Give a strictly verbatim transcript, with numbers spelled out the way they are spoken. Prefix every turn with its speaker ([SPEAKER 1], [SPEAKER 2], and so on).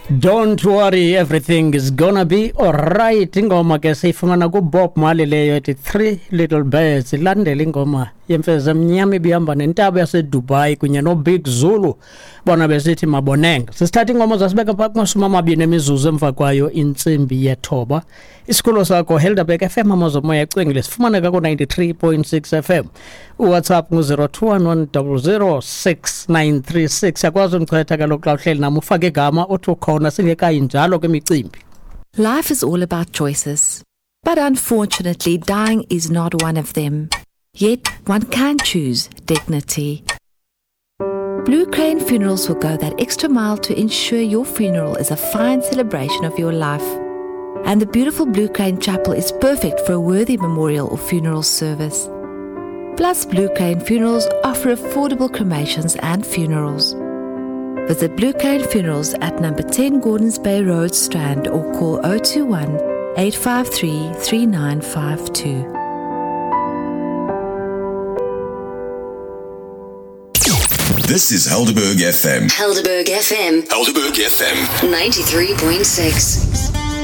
[SPEAKER 1] Don't worry, everything is gonna be alright. Ingoma ke siyifumana kuBob Marley leyo ethi Three Little Birds. Ilandela ingoma yemfezi emnyama ibihamba nentaba yaseDubai kunye noBig Zulu, bona besithi Maboneng. Sisithatha ingoma zasibeka phaa kumashumi amabini emizuzu emva kwayo intsimbi yethoba. Isikolo sakho Helderberg F M, amazomoya ecwengile, sifumaneka ku-ninety-three point six F M. UWhatsApp ngu-zero two one one zero zero six nine three six. Yakwazi undichwetha kaloku xa uhleli nam, ufake igama uthi ukhona singekayi njalo kwimicimbi.
[SPEAKER 2] Life is all about choices. But unfortunately, dying is not one of them. Yet, one can choose dignity. Blue Crane Funerals will go that extra mile to ensure your funeral is a fine celebration of your life. And the beautiful Blue Crane Chapel is perfect for a worthy memorial or funeral service. Plus, Blue Crane Funerals offer affordable cremations and funerals. Visit Blue Crane Funerals at number ten Gordons Bay Road, Strand, or call oh two one eight five three three nine five two.
[SPEAKER 3] This is Helderberg F M.
[SPEAKER 4] Helderberg F M.
[SPEAKER 3] Helderberg F M.
[SPEAKER 4] ninety-three point six.